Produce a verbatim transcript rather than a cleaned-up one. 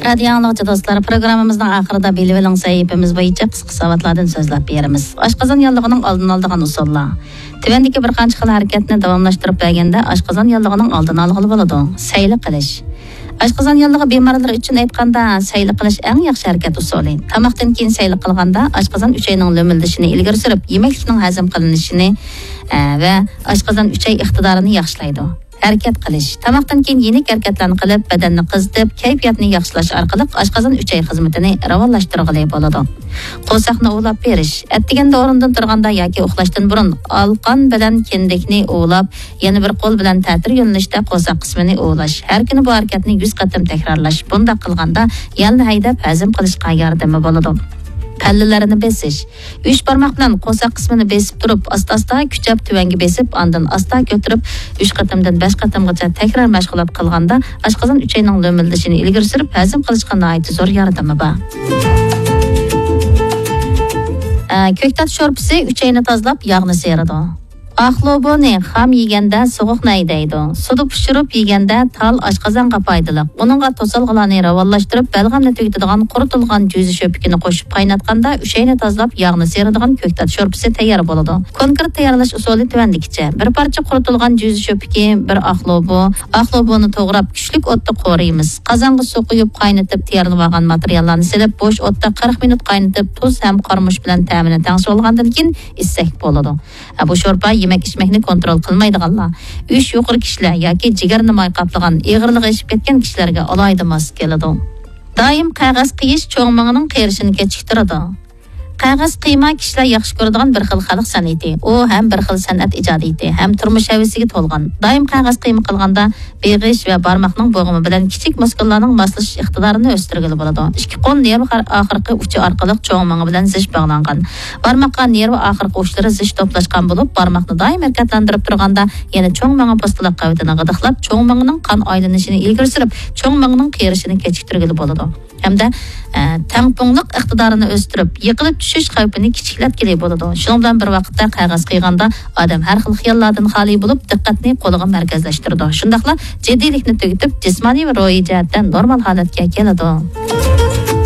رادىيو ئاڭلىغۇچى دوستلار، پروگراممىمىزنىڭ ئاخىرىدا بىلىۋېلىڭ سەھىپىمىز بويىچە قىسقا ساۋاتلاردىن سۆزلەپ بېرىمىز. ئاشقازان ياللۇغىنىڭ ئالدىنى ئالىدىغان ئۇسۇللار. تۆۋەندىكى بىر قانچە خىل ھەرىكەتنى داۋاملاشتۇرۇپ بەرگەندە ئاشقازان ياللۇغىنىڭ ئالدىنى ئالغىلى بولىدۇ. سەيلە قىلىش. ئاشقازان ياللۇغى بىمارلىرى ئۈچۈن ئېيتقاندا، سەيلە قىلىش ئەڭ ياخشى ھەرىكەت ئۇسۇلى. تاماقتىن كېيىن سەيلە قىلغاندا ئاشقازان ئۈچەينىڭ لۆمۈلدىشىنى ئىلگىرى سۈرۈپ، يېمەكلىكنىڭ ھەزىم قىلىنىشىنى، ئە، ۋە ئاشقازان ئۈچەي ئىقتىدارىنى ياخشىلايدۇ. ھەرىكەت قىلىش. تاماقتىن كېيىن يېنىك ھەرىكەتلەرنى قىلىپ، بەدەننى قىزىتىپ، كەيپىياتنى ياخشىلاش ئارقىلىق ئاشقازان ئۈچەي خىزمىتىنى راۋانلاشتۇرغىلى بولىدۇ. قورساقنى ئۇۋىلاپ بېرىش. ئەتىگەندە ئورنىدىن تۇرغاندا ياكى ئۇخلاشتىن بۇرۇن ئالقان بىلەن كىندىكنى ئۇۋىلاپ، يەنە بىر قول بىلەن تەتۈر يۆنىلىشتە قورساق قىسمىنى ئۇۋىلاش. ھەر كۈنى بۇ ھەرىكەتنى يۈز قېتىم تەكرارلاش. بۇنداق قىلغاندا يەلنى ھەيدەپ ھەزىم قىلىشقا ياردىمى بولىدۇ. پەللىلەرنى بېسىش. ئۈچ بارماق بىلەن قورساق قىسمىنى بېسىپ تۇرۇپ، ئاستا-ئاستا كۈچەپ تۆۋەنگە بېسىپ، ئاندىن ئاستا كۆتۈرۈپ، ئۈچ قېتىمدىن بەش قېتىمغىچە تەكرار مەشغۇلات قىلغاندا، ئاشقازان ئۈچەينىڭ لۆمۈلدىشىنى ئىلگىرى سۈرۈپ، ھەزىم قىلىشقا ناھايىتى زور ياردىمى بار. ئە، كۆكتات شورپىسى ئۈچەينى تازىلاپ، ياغنى سىيرىدۇ. ئاق لوبۇنى خام يېگەندە سوغۇقنى ھەيدەيدۇ. سۇدا پىشۇرۇپ يېگەندە تال ئاشقازانغا پايدىلىق. ئۇنىڭغا توسالغۇلارنى راۋانلاشتۇرۇپ، بەلغەمنى تۈگىتىدىغان قۇرۇتۇلغان جۈزە شۆپىكىنى قوشۇپ قايناتقاندا ئۈچەينى تازىلاپ ياغنى سىيرىدىغان كۆكتات شورپىسى تەييار بولىدۇ. كونكرېت تەييارلاش ئۇسۇلى تۆۋەندىكىچە. بىر پارچە قۇرۇتۇلغان جۈزە شۆپىكى، بىر ئاق لوبۇ. ئاق لوبۇنى توغراپ، كۈچلۈك ئوتتا قورۇيمىز. قازانغا سۇ قۇيۇپ قاينىتىپ، تەييارلىۋالغان ماتېرىياللارنى سېلىپ، بوش ئوتتا قىرىق مىنۇت قاينىتىپ، تۇز ھەم قارىمۇچ بىلەن تەمىنى تەڭشىۋالغاندىن كېيىن ئىچسەك بولىدۇ. بۇ شورپا يېمەك-ئىچمەكنى كونترول قىلمايدىغانلار، ئۈچ يۇقىرى كىشىلەر ياكى جىگەرنى ماي قاپلىغان، ئېغىرلىقى ئېشىپ كەتكەن كىشىلەرگە ئالاھىدە ماس كېلىدۇ. دائىم قەغەز قىيىش چوڭ مېڭىنىڭ قېرىشىنى كېچىكتۈرىدۇ. قەغەز قىيما كىشىلەر ياخشى كۆرىدىغان بىر خىل خەلق سەنئىتى. ئۇ ھەم بىر خىل سەنئەت ئىجادىيىتى، ھەم تۇرمۇش ھەۋىسىگە تولغان. دائىم قەغەز قىيما قىلغاندا بېغىش ۋە بارماقنىڭ بوغۇمى بىلەن كىچىك مۇسكۇللارنىڭ ماسلىشىش ئىقتىدارىنى ئۆستۈرگىلى بولىدۇ. ئىككى قول نېرۋا ئاخىرقى ئۇچى ئارقىلىق چوڭ مېڭە بىلەن زىچ باغلانغان. بارماققا نېرۋا ئاخىرقى ئۇچلىرى زىچ توپلاشقان بولۇپ، بارماقنى دائىم ھەرىكەتلەندۈرۈپ تۇرغاندا يەنە چوڭ مېڭە پوستىلاق قەۋىتىنى غىدىقلاپ، چوڭ مېڭىنىڭ قان ئايلىنىشىنى ئىلگىرى سۈرۈپ، چوڭ مېڭىنىڭ قېرىشىنى كېچىكتۈرگىلى بولىدۇ. ھەمدە، ئە، تەڭپۇڭلۇق ئىقتىدارىنى ئۆستۈرۈپ، يىقىلىپ چۈشۈش خەۋپىنى كىچىكلەتكىلى بولىدۇ. شۇنىڭ بىلەن بىر ۋاقىتتا قەغەز قىيغاندا ئادەم ھەر خىل خىياللاردىن خالىي بولۇپ، دىققەتنى قولىغا مەركەزلەشتۈرىدۇ. شۇنداقلا جىددىيلىكنى تۈگىتىپ، جىسمانىي ۋە روھىي جەھەتتە نورمال ھالەتكە كېلىدۇ.